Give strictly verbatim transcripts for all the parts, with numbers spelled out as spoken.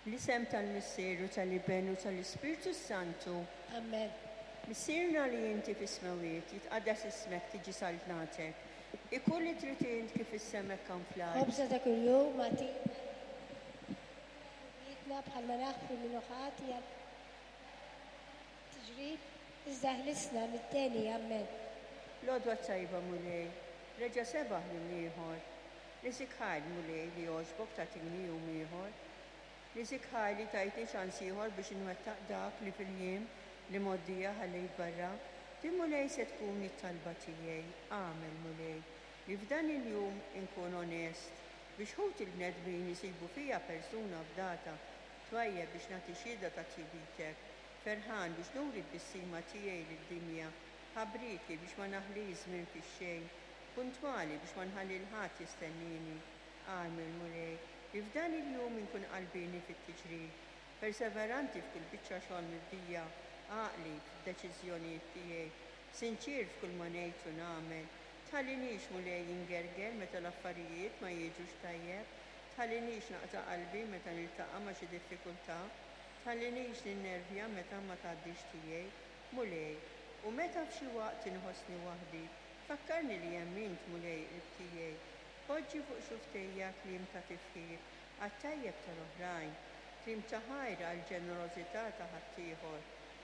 L-isem tal-Missier u tal-Iben u tal-Ispirtu Santu. Amen. Missierna li inti fis-smewwiet, jitqaddas ismek, tiġi saltnatek. Ikun li trid int kif fis-sema hekk fl-art. Ħobżna ta' kuljum agħtina dnubietna bħalma naħfru min hu ħati tiġrib, iżda ħlisna mid-deni. Amen. L-għodwa tajba, Mulej, reġa' sebaħ jum ieħor. Niżżik ħajr, Mulej, li għoġbok tagħtini jum ieħor. Niżżik ħajr li tajtni ċans ieħor biex inwettaq dak li fil-jiem li mgħoddija ħallejt barra. Din, Mulej, se tkun it-talba tiegħi. Agħmel, Mulej, li f'dan il-jum inkun onest biex ħuti l-bnedmin jisibu fija persuna fdata, twajjeb biex nagħti xhieda ta' tjubitek, ferħan biex nuri t-tbissima tiegħi lid-dinja, ħabrieki biex ma naħlix żmien fix-xejn, puntwali biex ma nħalli 'l ħadd jistennini. Agħmel, Mulej, li f'dan il-jum inkun qalbieni fit-tiġrib, perseveranti f'kull biċċa xogħol mibdija, għaqli f'deċiżjonijiet tiegħi, sinċier f'kull ma ngħid u nagħmel. Tħallinix, Mulej, ingerger meta l-affarijiet ma jiġux tajjeb, tħallinix naqta' qalbi meta niltaqa' ma' xi diffikultà, tħallinix ninnervja meta ma tgħaddix tiegħi, Mulej, u meta f'xi waqt inħossni waħdi, fakkarni li hemm int, Mulej, qrib tiegħi. Poġġi fuq xufftejja kliem ta' tifħir għat-tajjeb tal-oħrajn, kliem ta' ħajr għall-ġenerożità ta' ħaddieħor,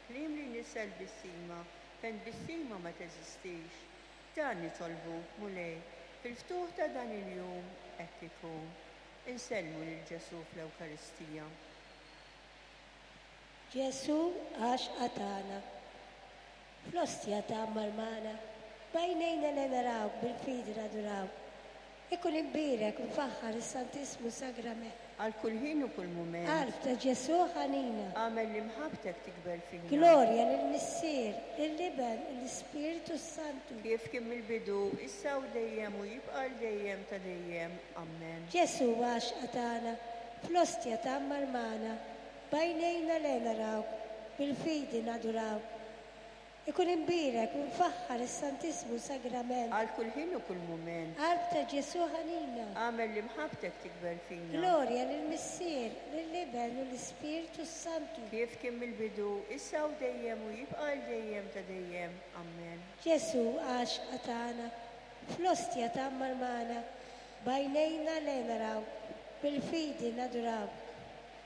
kliem li jnissel tbissima fejn tbissima ma teżistix. Dan nitolbuk, Mulej, fil-ftuħ ta' dan il-jum hekk ikun. Insellmu lil Ġesù fl-Ewkaristija. Ġesù għaxqa tagħna, fl-ostja tgħammar magħna, b'għajnejna li narawk, bil-fidi nadurawk. Ikun imbierek u mfaħħar is-Santissmu Sagrament. Għal kull ħin u kull mument. Qalb ta' Ġesù ħanina. Agħmel li mħabbtek tikber fina. Glorja lill-Missier, lill-Iben u l-Ispirtu Santu. Kif kien mill-bidu, issa u dejjem u jibqa' għal dejjem ta' dejjem. Amen. Ġesù għaxqa tagħna, fl-ostja tgħammar magħna, b'għajnejna li narawk, bil-fidi nadurawk. Ikun imbierek u mfaħħar is-Santissmu Sagrament. Għal kull ħin u kull mument. Qalb ta' Ġesù ħanina. Agħmel li mħabbtek tikber fina. Glorja lill-Missier, lill-Iben u l-Ispirtu Santu. Kif kien mill-bidu, issa u dejjem u jibqa' għal dejjem ta' dejjem. Amen. Ġesù għaxqa tagħna, fl-ostja tgħammar magħna, b'għajnejna li narawk, bil-fidi nadurawk.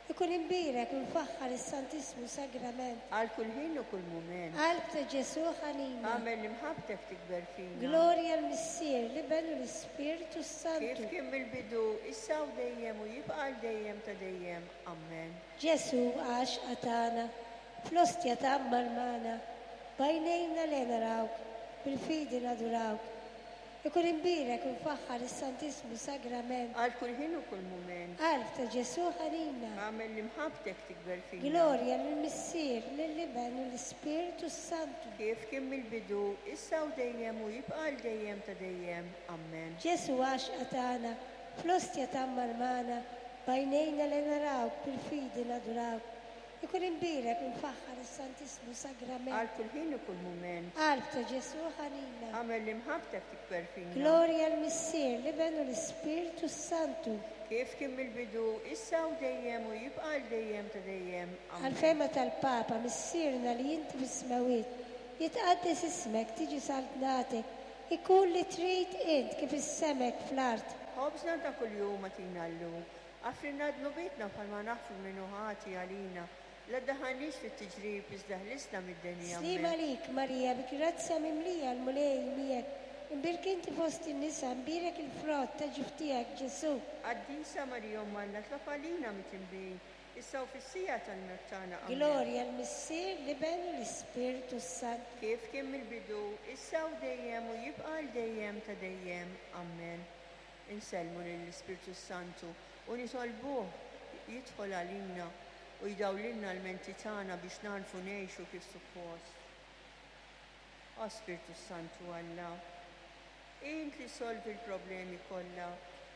Ikun imbierek u mfaħħar is-Santissmu Sagrament. Għal kull ħin u kull mument. Qalb ta' Ġesù ħanina. Agħmel li mħabbtek tikber fina. Glorja l-Missier, l-Iben u l-Ispirtu Santu. Kif kien mill-bidu, issa u dejjem u jibqa' għal dejjem ta' dejjem. Amen. Ġesù għaxqa tagħna, fl-ostja tgħammar magħna, b'għajnejna li narawk, bil-fidi nadurawk. Ikun imbierek u mfaħħar is-Santissmu Sagrament. Għal kull ħin u kull mument. Qalb ta' Ġesù ħanina. Agħmel li mħabbtek tikber fina. Glorja lill-Missier, lill-Iben u l-Ispirtu Santu. Kif kien mill-bidu, issa u dejjem u jibqa' għal dejjem ta' dejjem. Amen. Ġesù għaxqa tagħna, fl-ostja tgħammar magħna, b'għajnejna li narawk, bil-fidi nadurawk. Ikun imbierek u mfaħħar is-Santissmu Sagrament. Għal kull ħin u kull mument. Qalb ta' Ġesù ħanina. Agħmel li mħabbtek tikber fina. Glorja l-Missier, l-Iben u l-Ispirtu Santu. Kif kien mill-bidu, issa u dejjem u jibqa' għal dejjem ta' dejjem. Amen. Għall-fehma tal-Papa, Missierna li inti fis-smewwiet, jitqaddes ismek, tiġi saltnatek, ikun li trid int kif fis-sema hekk fl-art. Ħobżna ta' kuljum agħtina llum. Aħfrilna dnubietna bħalma naħfru min hu ħati għalina. La ddaħħalniex fit-tiġrib, iżda ħlisna mid-deni. Slim għalik, Marija, bi grazzja mimlija, l-Mulej miegħek. Imbierka inti fost in-nisa, imbierek il-frott ta' ġuf tiegħek, Ġesù. Qaddisa Marija Omm Alla, itlob għalina midinbin, issa u fis-siegħa tal-mewt tagħna. Amen. Glorja l-Missier, l-Iben u l-Ispirtu Santu. Kif kien mill-bidu, issa u dejjem u jibqa' għal dejjem ta' dejjem. Amen. Insellmu lill-Ispirtu Santu u nitolbuh jidħol għalina u jdawlilna l-menti tagħna biex nagħrfu ngħixu kif suppost. O Spirtu Santu Alla, int li solvi l-problemi kollha,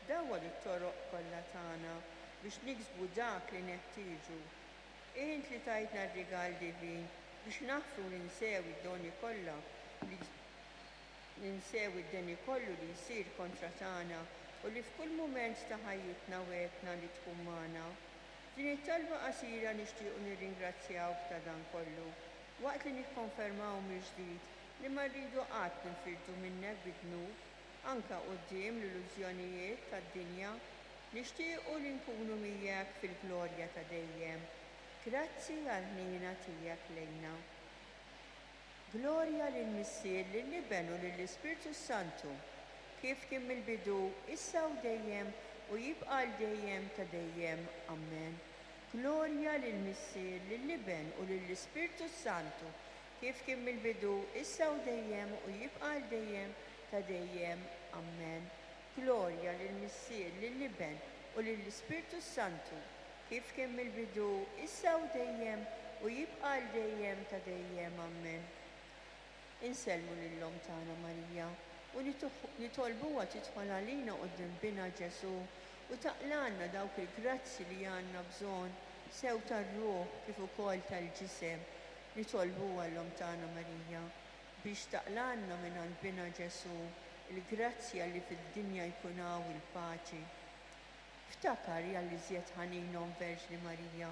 dawwal it-toroq kollha tagħna biex niksbu dak li neħtieġu. Int li tajtna r-rigal divin biex naħfru ninsew id-doni kollha li ninsew id-deni kollu li jsir kontra tagħna u li f'kull mument ta' ħajjitna wegħedtna li tkun magħna. Din it-talba qasira nixtiequ nirringrazzjawk ta' dan kollu, waqt li nikkonfermaw mill-ġdid li ma rridu qatt ninfirdu minnek bid-dnub, anke quddiem l-illużjonijiet tad-dinja, nixtiequ li nkunu miegħek fil-glorja ta' dejjem. Grazzi għall-ħniena tiegħek lejna. Glorja lill-Missier, lill-Iben u lill-Ispirtu Santu, kif kien mill-bidu, issa u dejjem, u jibqa' għal dejjem ta' dejjem. Amen. Glorja lill-Missier, lill-Iben u lill-Ispirtu Santu, kif kien mill-bidu, issa u dejjem, u jibqa' għal dejjem ta' dejjem. Amen. Glorja lill-Missier, lill-Iben u lill-Ispirtu Santu, kif kien mill-bidu, issa u dejjem, u jibqa' għal dejjem ta' dejjem. Amen. Insellmu lil-Omm tagħna Marija u nitolbuha tidħol għalina quddiem Binha Ġesù u taqlalna dawk il-grazzi li għandna bżonn sew tar-ruħ kif ukoll tal-ġisem. Nitolbuha l-Omm tagħna Marija biex taqlalna minn għand Binha Ġesù il-grazzja li fid-dinja jkun hawn il-paċi. Ftakar ja l-iżjed ħanin Omm Verġni Marija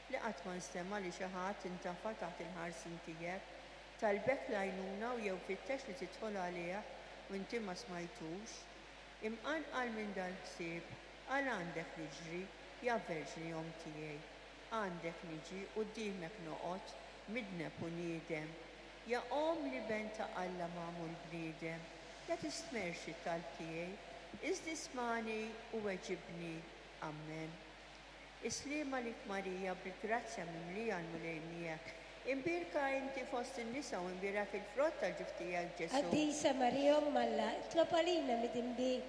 li qatt ma nstema' li xi ħadd intafa' taħt il-ħarsien tiegħek, talbek l-għajnuna u jew fittex li tidħol għalih u inti ma smajtux. Imqanqal minn dal-ħsieb, għal għandek niġri, ja Verġni Omm tiegħi. Għandek niġi quddiemek noqgħod, midneb u niedem. Ja Omm l-Iben ta' Alla magħmul bniedem, la tistmerx it-talb tiegħi, iżda ismagħni u weġibni. Amen. Is-sliem għalik Marija, bil-grazzja mimlija l-Mulej miegħek. Imbierka inti fost in-nisa u imbierak il-frott tal-ġuf tiegħek Ġesù. Qaddisa Marija Omm Alla, itlob għalina midinbin,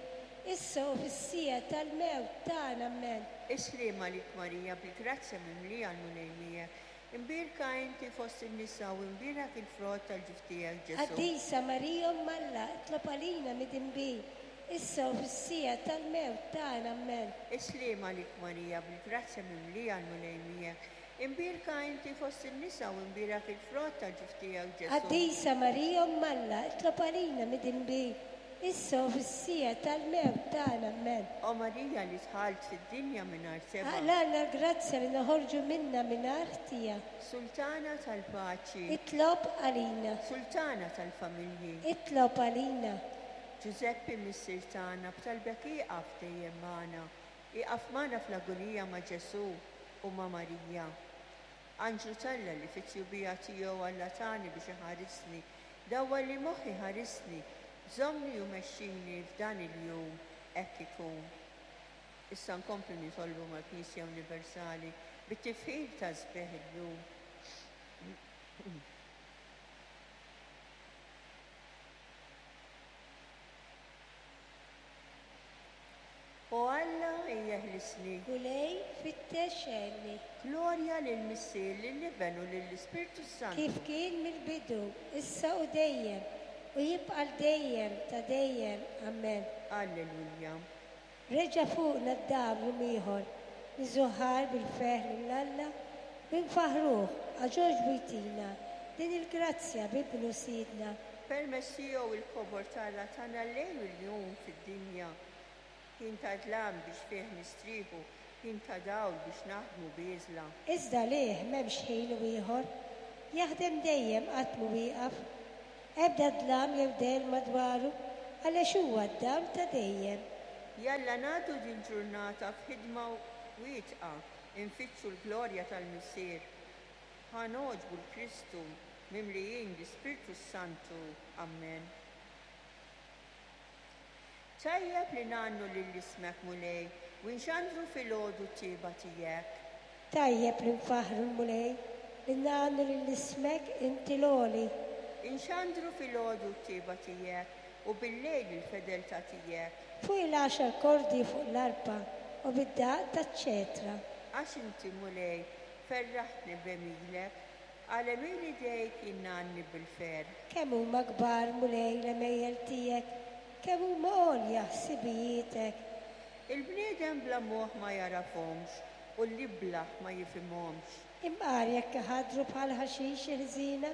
issa u fis-siegħa tal-mewt tagħna. Amen. Is-sliem għalik Marija, bil-grazzja mimlija l-Mulej miegħek. Imbierka inti fost in-nisa u imbierak il-frott tal-ġuf tiegħek Ġesù. Qaddisa Marija Omm Alla, itlob għalina midinbin, issa u fis-siegħa tal-mewt tagħna. Amen. Is-sliem għalik Marija, bil-grazzja mimlija l-Mulej miegħek. Imbierka inti fost in-nisa u imbierak il-frott tal-ġuf tiegħek Ġesù. Qaddisa Marija Omm Alla, itlob għalina midinbin, issa u fis-siegħa tal-mewt tagħna. Amen. O Marija li dħalt fid-dinja mingħajr tebgħa. Aqlalna l-grazzja li noħorġu minna mingħajr ħtija. Sultana tal-paċi. Itlob għalina. Sultana tal-familji. Itlob għalina. Ġużeppi missier tagħna, b'talbek ieqaf dejjem magħna. Ieqaf magħna fl-agonija ma' Ġesù u ma' Marija. Anġlu t'Alla li fit-tjubija tiegħu Alla tani biex iħarisni, dawwal li moħħi ħarisni, żommni u mexxini f'dan il-jum hekk ikun. Issa nkomplu nitolbu mal-Knisja Universali bit-tifħir ta' sbieħ il-jum. O Alla, ejjeħlisni. Mulej, fittex għenni. Glorja lill-Missier, lill-Iben u lill-Ispirtu Santu. Kif kien mill-bidu, issa u dejjem, u jibqa' l dejjem ta' dejjem. Amen. Alleluja. Reġa' fuqna d-dam jum ieħor, niżuħar bil-ferħ lil Alla, minfaħruh għax għoġbu jtina din il-grazzja b'Ibnu Sidna. Permezz tiegħu il-kobor tagħna tagħna lejl u l-jum fid-dinja. Ħin ta' dlam biex fih nistrieħu, ħin ta' dawl biex naħdmu bieżla. Iżda lih m'hemmx ħin u ieħor, jaħdem dejjem qatt mhu wieqaf. Ebda dlam jew dell madwaru, għaliex huwa d-dawl ta' dejjem. Jalla nagħtu din ġurnata f'ħidma wietqa, infittxu l-glorja tal-Missier. Ħa nogħġbu l-Kristu mimlijin l-Ispirtu Santu. Amen. Tajjeb li ngħannu lil ismek Mulej u nxandru filgħodu t-tieba tiegħek. Tajjeb li nfaħħru l-Mulej, li ngħannu lil ismek inti l-għoli. Inxandru filgħodu t-tieba tiegħek u bil-lejl il-fedeltà tiegħek. Fuq il-għaxar kordi fuq l-arpa u bid-daqq taċ-ċetra. Għax inti Mulej ferraħtni b'għemilek, għal għemil idejk jingħanni bil-ferħ. Kemm huma kbar Mulej l-għemejjel tiegħek, kemm huma għolja ħsibijietek. Il-bniedem bla moħħ ma jarafhomx u l-iblaħ ma jifhimhomx. Imqar jekk iħaddru bħal ħaxix il-ħżiena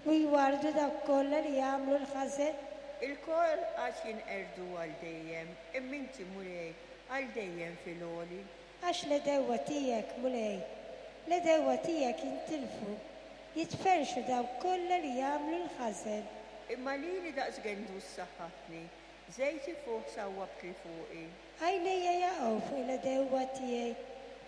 u jwardu dawk kollha li jagħmlu l-ħażen. Il-kol għad jinqerdu għal dejjem, imma inti Mulej għal dejjem fil-għoli. Għax l-għedewwa tiegħek, Mulej, l-għedewwa tiegħek jintilfu, jitferrxu dawk kollha li jagħmlu l-ħażen. Imma lili daqs gendus saħħatni, żejt ifuħ sawwabt li fuqi. Għajnejja jaqgħu fuq l-għedewwa tiegħi,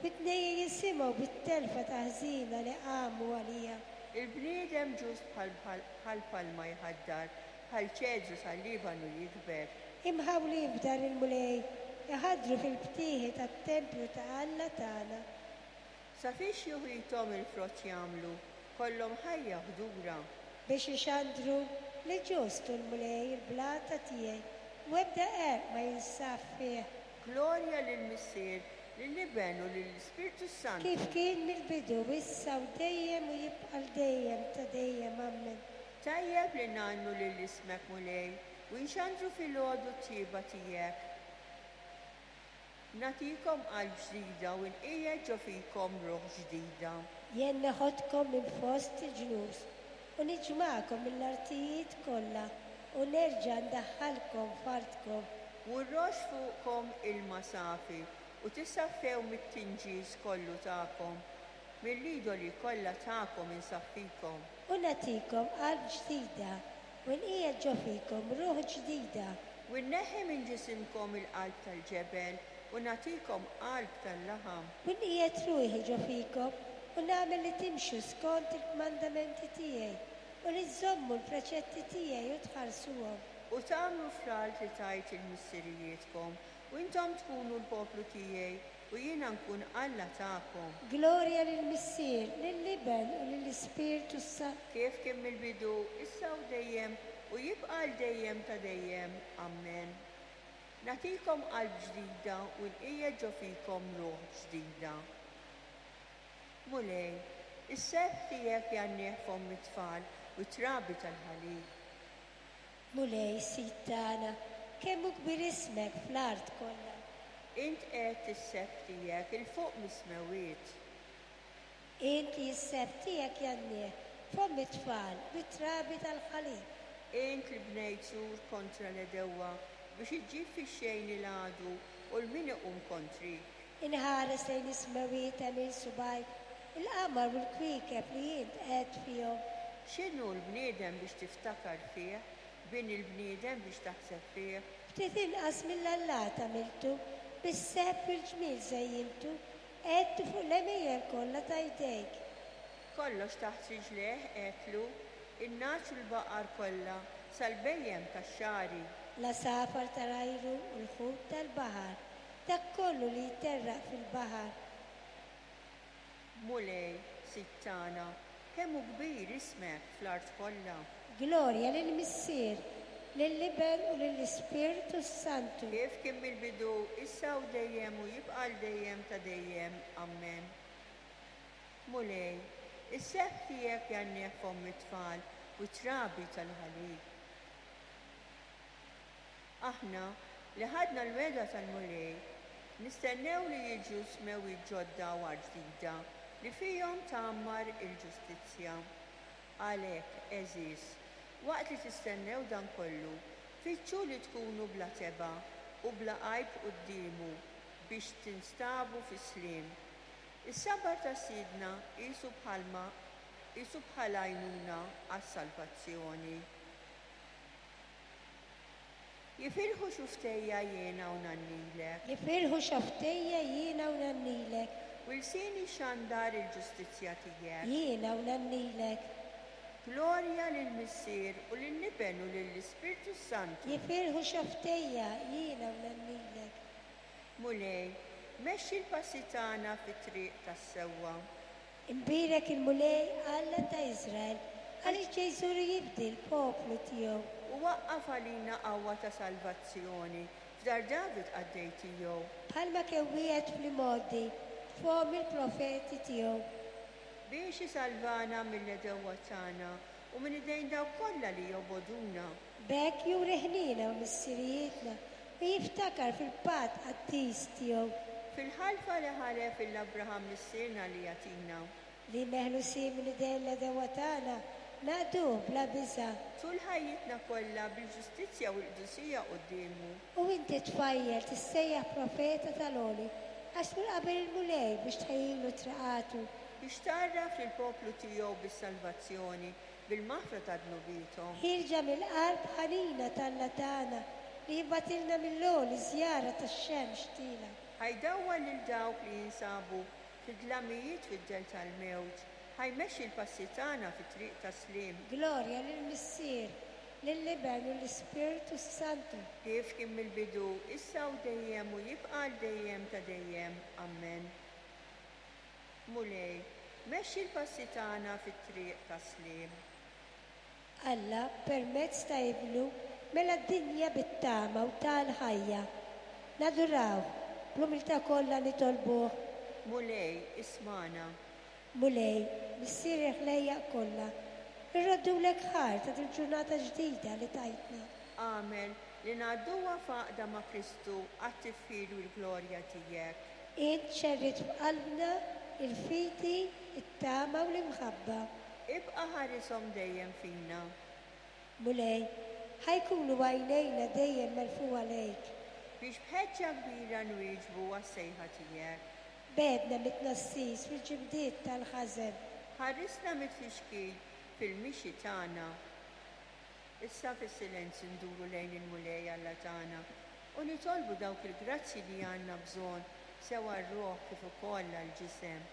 widnejja jisimgħu bit-telfa ta' ħżiena li qamu għalija. Il-bniedem ġust bħal palma jħaddar, bħal ċedru tal-Libanu jikber. Imħawlin f'dar il-Mulej, iħaddru fil-btieħi tat-tempju ta' Alla tagħna. Sa fiex juħithom il-frott jagħmlu, kollhom ħajja ħdura. Biex ixandru li ġustu l-Mulej il-blata tiegħi, u ebda qerq ma jinsab fih. Glorja lill-Missier, lill-Iben u lill-Ispirtu Santu. Kif kien mill-bidu, issa u dejjem u jibqa' dejjem ta' dejjem. Amen. Tajjeb li ngħannu lil ismek, Mulej, u nxandru filgħodu t-tjieba tiegħek. Nagħtikom qalb ġdida u nqiegħed ġo fikom ruħ ġdida. Jien neħodkom minn fost il-ġnus u niġmagħkom mill-artijiet kollha u nerġa' ndaħħalkom f'artkom. U rroxx fuqkom ilma safi u tissaffew mit-tinġis kollu tagħkom, mill-idoli kollha tagħkom insaffikom. U nagħtikom qalb ġdida u nqiegħed ġo fikom ruħ ġdida. U nneħħi minn ġisimkom il-qalb tal-ġebel u nagħtikom qalb tal-laħam. U nqiegħed ruħi ġo fikom u nagħmel li timxu skont il-kmandamenti tiegħi u li żżommu l-preċetti tiegħi u tħarsuhom. U tagħmlu fl-art li tajt lil missirijietkom, u intom tkunu l-poplu tiegħi u jiena nkun Alla tagħkom. Glorja lill-Missier, lill-Iben u lill-Ispirtu Santu. Kif kien mill-bidu, issa u dejjem u jibqa' għal dejjem ta' dejjem. Amen. Nagħtikom qalb ġdida u nqiegħed ġo fikom ruħ ġdida. Mulej, is-sebħ tiegħek jgħannih fomm it-tfal u trabi tal-ħalib. Mulej, Sid tagħna, kemm hu kbir ismek fl-art kollha. Int qed is-sebħ tiegħek 'il fuq mis-smewwiet. Int li s-sebħ tiegħek jgħannih fomm it-tfal u trabi tal-ħalib. Int li bnejt sur kontra l-għedewwa biex iġġib fix-xejn il-għadu u 'l min iqum kontrik. Inħares lejn is-smewwiet għemil subgħajk, il-qamar u l-kwiekeb li int qed fihom. X'inhu l-bniedem biex tiftakar fih, bin il-bniedem biex taħseb fih? Ftit inqas mill-allat għamiltu, bis-sebħ u l-ġmiel żejjintu, qegħedtu fuq l-għemejjel kollha ta' jdejk. Kollox taħt riġlejh qedtlu, in-nagħaġ u l-baqar kollha, sal-bhejjem tax-xagħri. L-għasafar tal-ajru u l-ħut tal-baħar, dak kollu li jterraq fil-baħar. Mulej, Sid tagħna, kemm hu kbir ismek fl-art kollha. Glorja lill-Missier, lill-Iben u lill-Ispirtu Santu. Kif kien mill-bidu, issa u dejjem u jibqa' għal dejjem ta' dejjem. Amen. Mulej, is-sebħ tiegħek jgħannih fomm it-tfal u trabi tal-ħalib. Aħna li ħadna l-wegħda tal-Mulej, nistennew li jiġu smewwiet ġodda u art ġdida li fihom tgħammar il-ġustizzja. Għalhekk, għeżież, waqt li tistennew dan kollu, fittxu li tkunu bla tebgħa u bla għajb quddiemu biex tinstabu fis-sliem. Is-sabar ta' Sidna qisu bħalma qisu bħal għajnuna għas-salvazzjoni. Jifirħu xufftejja jiena u ngħannilek. Jifirħu xufftejja jiena u ngħannilek. U lsieni xandar il-ġustizzja tiegħek. Jiena u ngħannilek. Glorja lill-Missier u lill-Iben u lill-Ispirtu Santu. Jifirħu xufftejja jiena u ngħannilek. Mulej, mexxi l-passi tagħna fit-triq tas-sewwa. Imbierek il-Mulej Alla ta' Iżrael, għaliex ġej iżur jifdi l-poplu tiegħu. U waqqaf għalina qawwa ta' salvazzjoni f'dar David qaddej tiegħu. Bħalma kien wiegħed fl-imgħoddi fomm il-profeti tiegħu. Biex isalvana mill-għedewwa tagħna u minn idejn dawk kollha li jobogħduna. B'hekk juri ħniena u missirijietna u jiftakar fil-patt qaddis tiegħu. Fil-ħalfa li ħalef lil Abraham missierna li jagħtina. Li meħlusin minn idejn l-għedewwa tagħna naqduh bla biża'. Tul ħajjitna kollha bil-ġustizzja u l-qdusija quddiemu. U inti tfajjel tissejjaħ profeta tal-Għoli, Għax tmur qabel il-Mulej biex tħejjilu triqatu. Biex tgħarraf lill-poplu tiegħu bis-salvazzjoni, bil-maħfra ta' dnubiethom. Ħierġa mill-qalb ħanina t'Alla tagħna li jibgħatilna mill-għoli żjara tax-xemx tielgħa. Ħa jdawwal lil dawk li jinsabu fid-dlamijiet fid-dell tal-mewt, ħa jmexxi l-passi tagħna fit-triq tas-sliem. Glorja lill-Missier, lill-Iben u l-Ispirtu Santu. Kif kien mill-bidu, issa u dejjem u jibqa' għal dejjem ta' dejjem. Amen. Mulej, mexxi l-passi tagħna fit-triq tas-sliem. Alla, permezz ta' Ibnu, mela d-dinja bit-tama u tal-ħajja. Naduraw, bl-umiltà kollha nitolbuh. Mulej, ismagħna. Mulej, Missier il-ħlejjaq kollha, irroddulek ħajr ta' dil-ġurnata ġdida li tajtna. Agħmel li ngħadduha f'għaqda ma' Kristu għat-tifħir u l-glorja tiegħek. Int xerridt f'qalbna il-fidi, it-tama u l-imħabba. Ibqa' ħarishom dejjem fina. Mulej, ħa jkunu għajnejna dejjem merfugħa lejk. Biex b'ħeġġa kbira nwieġbu għas-sejħa tiegħek. Begħedna mit-tnassis fil-ġibdiet tal-ħażen. Ħarisna mit-tfixkil fil-mixi tagħna. Issa fis-silenzju nduru lejn il-Mulej Alla tagħna u nitolbu dawk il-grazzi li għandna bżonn sew għar-ruħ kif ukoll għall-ġisem.